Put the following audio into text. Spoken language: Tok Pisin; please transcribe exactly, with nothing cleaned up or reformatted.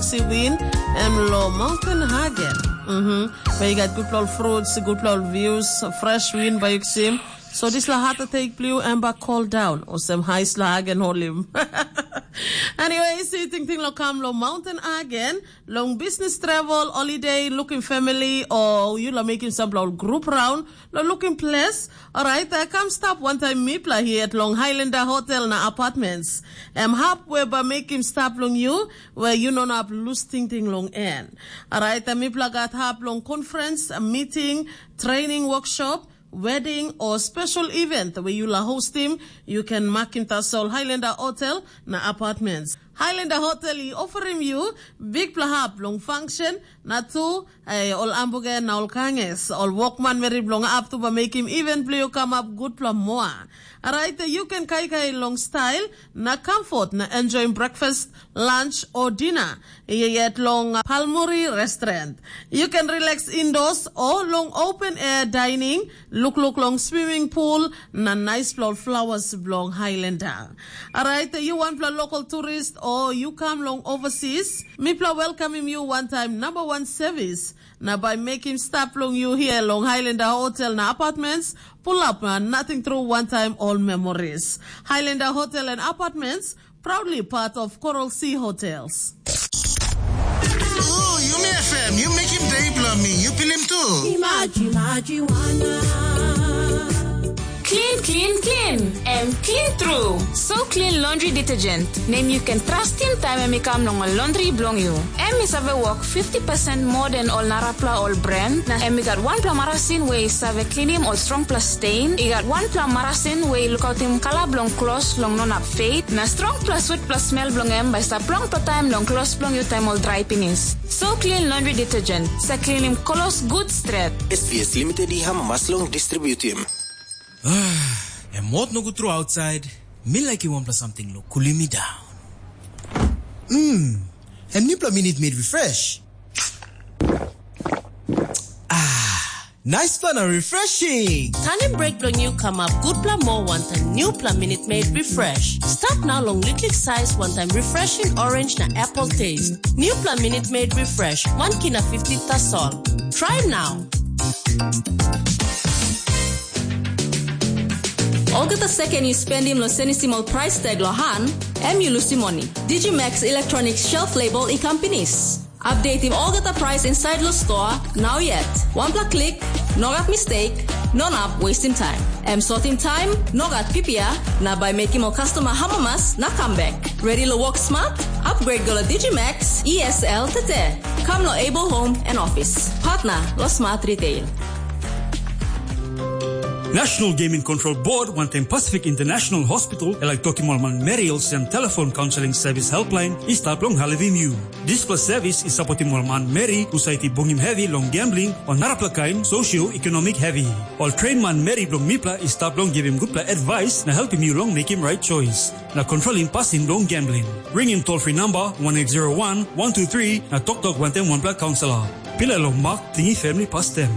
Siwin, em lo Mountain Hagen. Mhm. Bai gat gutpela ol fruits, gutpela ol views, fresh wind by Yuxim. So dispela heart attack bliu em ba cool down, osem high sla Hagen holim. Anyway, si tingting lo kam lo Mountain Hagen, long business travel, holiday, looking family, or you lo making some group round, lo looking place. Alright, I come stop one time mipla here at long Highlander Hotel na Apartments. Em hap we ba making stop long you, where you no up lose tingting long en. Alright, mipla gat hap long conference, meeting, training workshop, wedding or special event where you la host him, you can mark him tasol Highlander Hotel na Apartments. Highlander Hotel i offer him you big plahap long function, na tu eh, ol ambuge na ol kanges, ol wokman meri bilong ap tu ba mekim even bilong you come up good pla moa. Alright, you can kai kai long style, na comfort, na enjoy breakfast, lunch or dinner. Yet long Palmuri restaurant. You can relax indoors or long open air dining, look look long swimming pool, na nice flower flowers belong Highlander. Alright, you one pla local tourist or you come long overseas, mipla welcome him you one time number one service. Na by making stop long you here long Highlander Hotel na Apartments, pull up na nothing through one time all memories. Highlander Hotel and Apartments, proudly part of Coral Sea Hotels. Ooh, Yumi F M, you make him day blow me. You feel him too. Imaji, imaji, wana. Clean, clean, clean. Em clean tru. So clean laundry detergent. Nem you can trust him time em i kam long ol laundry bilong you. Em i save work fifty percent more than ol narapla ol brand. Na em i gat wanpela marasin we i save cleanim ol strongpela stain. I gat wanpela marasin we i lukautim kala bilong klos long no nap fade. Na strongpela sweetpela smell bilong em bai stap longpela taim long klos bilong yu taim ol drai pinis. So clean laundry detergent. Sa cleanim klos good stret. S B S Limited i hamamas long distributim. Ah, em mot nogut tru outside. Mi like wanpela something lo cooling me down. Mm, em nipla minute made refresh. Ah, nice plan and refreshing. Tanim break bilong you come up good pla more one time new pla minute made refresh. Start now long liklik size one time refreshing orange na apple taste. New pla minute made refresh one kina fifty tasol. Try now. Olgeta seken yu spendim long senisim ol price tag lo han, em yu lusim moni. Digimax Electronics shelf label i kam pinis. Updatim olgeta price inside lo store, now yet. Wanpela klik, no gat mistake, no nap wasting time. Em sotim time, no gat pipia, na by making ol customer hamamas na come back. Ready lo work smart? Upgrade go lo Digimax E S L tete. Come lo Able Home and Office. Partner lo Smart Retail. National Gaming Control Board wantaim Pacific International Hospital e laik tokim ol manmeri olsem telefon kaunseling sevis helpline i stap long helpim yu. Dispela sevis i sapotim ol manmeri husat i bungim hevi long gambling o narapela kain sosioekonomik hevi. Ol train manmeri bilong mipela i stap long givim gutpela advice na helpim yu long mekim right choice na kontrolim pasin bilong gambling. Ringim toll free number one eight zero one, one two three na toktok wantaim wanpela kaunselor. Pilai long mak tingi family pastem.